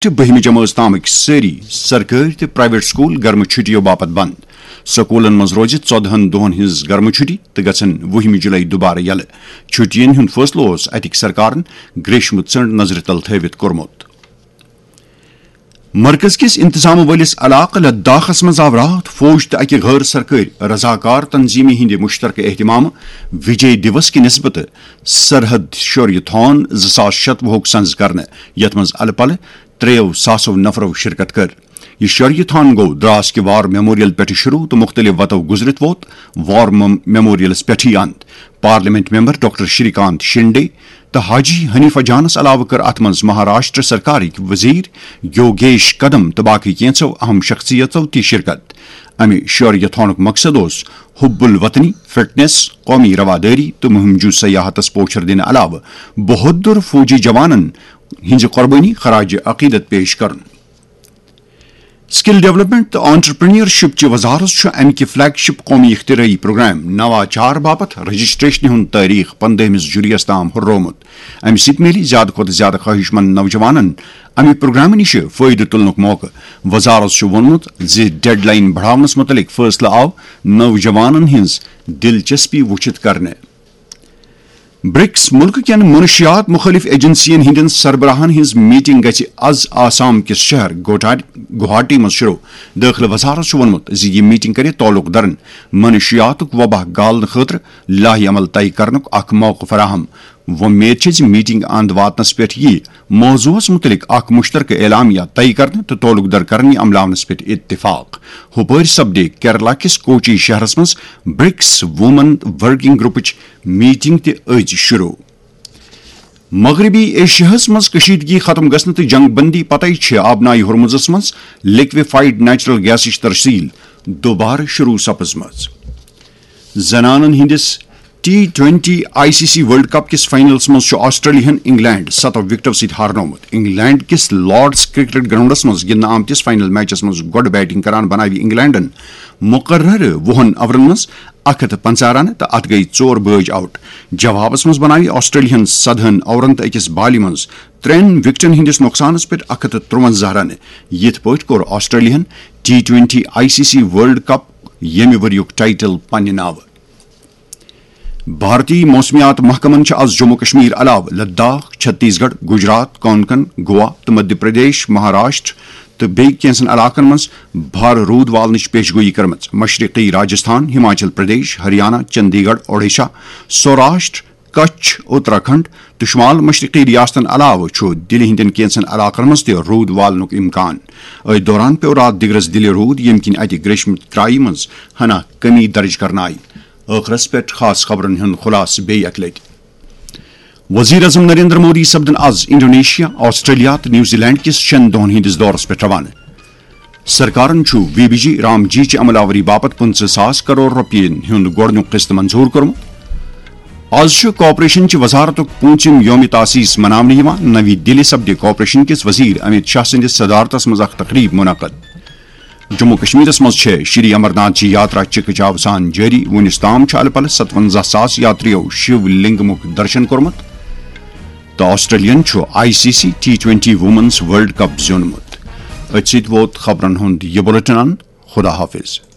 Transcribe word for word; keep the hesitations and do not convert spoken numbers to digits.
چھِ بٔہمہِ جمٲژ تامٕکۍ سٲری سرکٲرۍ تہٕ پرائیویٹ سکول گرمہٕ چھُٹیو باپتھ بند۔ سکولن منٛز روزِ ژۄدہن دۄہن ہٕنٛز گرمہٕ چھُٹی تہٕ گژھن وُہمہِ جُلای دُبارٕ یلہٕ۔ چھُٹیَن ہُنٛد فٲصلہٕ اوس اتِکۍ سرکارن گریشمہٕ ژٔنڈ نظرِ تل تھٲوِتھ کوٚرمُت۔ مرکز کِس انتظام وٲلِس علاقہٕ لداخس منٛز آو راتھ فوج تہٕ اکہِ غٲر سرکٲرۍ رضاکار تنظیمہِ ہٕنٛدِ مشترکہٕ اہتمامہٕ وجے دیوس کہِ نسبتہٕ سرحد شوریہ تھون زٕ ساس شتوُہُک سنز کرنہٕ، یتھ منٛز الہٕ پلہٕ ترٛیٚیو ساسو نفرو شرکت کٔر۔ یہِ شوریہ تھون گوٚو دراس کہِ وار میموریل پٮ۪ٹھٕ شروع تہٕ مُختٔلِف وتو گُزرِتھ ووت وار مم-، میموریلس پٮ۪ٹھٕے اند۔ پارلیمنٹ ممبر ڈاکٹر شری کانت شنڈے تہٕ حاجی حنیفہ جانس علاوٕ کٔر اتھ منٛز مہاراشٹر سرکارٕکۍ وزیر یوگیش قدم تہٕ باقٕے کینٛژھو اہم شخصیژو تہِ شرکت۔ امہِ شوریہ تھونُک مقصد اوس حب الوطنی، فٹنس، قومی روادٲری تہٕ مہم جوٗ سیاحتس پوچھر دِنہٕ علاوٕ بہادر فوجی جوانن ہٕنٛزِ قۄربٲنی خراج عقیدت پیش کرُن۔ سکل ڈیولپمنٹ تہٕ آنٹرپرینیورشپ چہِ وزارت چھُ امہِ کہِ فلیگ شپ قومی اختراعی پروگرام نواچار باپتھ رجسٹریشنہِ ہُنٛد تٲریخ پندہمِس جُلایس تام ہُررومُت۔ امہِ سۭتۍ میلہِ زیادٕ کھۄتہٕ زیادٕ خواہش مند نوجوانن امہِ پروگرامہٕ نِش فٲیدٕ تُلنُک موقعہٕ۔ وزارت چھُ ووٚنمُت زِ ڈیڈ لائن بڑاونس مُتعلق فٲصلہٕ آو نوجوانن ہٕنٛز دلچسپی وُچھِتھ کرنہٕ۔ برکس ملکہٕ کٮ۪ن منشیات مخٲلف ایجنسین ہٕنٛدٮ۪ن سربراہن ہٕنٛز میٹنگ گژھِ از آسام کِس شہر گوٹا-، گوہاٹی منٛز شروع۔ دٲخلہٕ وزارت چھُ ووٚنمُت زِ یہِ میٹنگ کرِ تعلق دارن منشیاتُک وبا گالنہٕ خٲطرٕ لایحہ عمل طے کرنُک اکھ موقعہٕ فراہم۔ وۄمید چھِ زِ میٹنگ اند واتنس پٮ۪ٹھ یِیہِ موضوعس مُتعلق اکھ مشترکہٕ اعلامیہ طے کرنہٕ تہٕ تعلق دار کرنہٕ عملاونس پٮ۪ٹھ اتفاق۔ ہُپٲرۍ سپدِ کیرلا کِس کوچی شہرس منٛز برکس وومن ورکنگ گروپٕچ میٹنگ تہِ أزۍ شروع۔ مغربی ایشیاہس منٛز کشیدگی ختم گژھنہٕ تہٕ جنگ بندی پتہٕ چھِ آبنائے ہرمزس منٛز لیکویفائیڈ نیچرل گیسٕچ ترسیل دوبارٕ شروع سپٕزمٕژ۔ زنانن ہٕنٛدِس T twenty I C C world cup کِس فائنلس منٛز چھُ آسٹریلیاہن انگلینڈ ستو وکٹو سۭتۍ ہارنومُت۔ انگلینڈ کِس لارڈز کرکٹ گراؤنڈس منٛز گِنٛدنہٕ آمتِس فائنل میچس منٛز گۄڈٕ بیٹنگ کران بناوِ انگلینڈن مقررٕ وُہن اوورن منٛز اکھ ہتھ تہٕ پنژاہ رنہٕ تہٕ اتھ گٔیہِ ژور بٲج آؤٹ۔ جوابس منٛز بناوِ آسٹریلیاہن سدہن اوورن تہٕ أکِس بالہِ منٛز ترٛٮ۪ن وکٹن ہٕنٛدِس نۄقصانس پٮ۪ٹھ اکھ ہتھ تہٕ ترٛونزہ رنہٕ۔ یِتھ پٲٹھۍ کوٚر آسٹریلیاہن T twenty I C C world cup ییٚمہِ ؤریُک ٹائٹل پننہِ ناوٕ۔ بھارتی موسمیات محکمن چھِ از جموں کشمیر علاوٕ لداخ، چھتیس گڑھ، گجرات، کونکن، گوا تہٕ مدھیہ پردیش، مہاراشٹر تہٕ بیٚیہِ کینٛژن علاقن منٛز بھارٕ روٗد والنٕچ پیش گویی کٔرمٕژ۔ مشرقی راجستھان، ہماچل پردیش، ہریانہ، چندی گڑھ، اوڈیشہ، سوراشٹر، کچھ، اتراکھنڈ تہٕ شمال مشرقی ریاستن علاوٕ چھُ دِلہِ ہٕنٛدٮ۪ن کینٛژن علاقن منٛز تہِ روٗد والنُک امکان۔ أتھۍ دوران پیوٚو راتھ دِگرس دِلہِ روٗد، ییٚمہِ کِنۍ اتہِ گریشمہٕ کرایہِ منٛز ہنا کمی درج کرنہٕ آیہِ۔ ٲخرس پٮ۪ٹھ خاص خبرن ہُنٛد خلاصہٕ بیٚیہِ اکہِ لٹہِ۔ وزیر اعظم نریندر مودی سپدن از انڈونیشیا، آسٹریلیا تہٕ نیوزی لینڈ کِس شٮ۪ن دۄہن ہٕنٛدِس دورس پٮ۪ٹھ روانہٕ۔ سرکارن چھُ وی بی جی رام جی چہِ عمل آوری باپتھ پٕنٛژٕہ ساس کرور رۄپین ہُنٛد گۄڈٕنیُک قسط منظور کوٚرمُت۔ از چھُ کارپوریشن چہِ وزارتُک پوٗنٛژِم یوم تاسیس مناونہٕ یِوان۔ نوی دِلہِ سپدِ کارپوریشن کِس وزیر امیت شاہ سٕنٛدِس صدارتس منٛز اکھ تقریب منعقد۔ جموں کشمیرس منٛز چھےٚ شری امرناتھ جی یاترا چکہ چاو سان جٲری۔ وُنیُس تام چھُ الہٕ پلہٕ ستونزہ ساس یاتریو شیو لنگمُک درشن کوٚرمُت۔ تہٕ آسٹریلیاہن چھُ I C C T twenty women's world cup زیوٗنمُت۔ أتھۍ سۭتۍ ووت خبرن ہُنٛد یہِ بلیٹن اند۔ خدا حافظ۔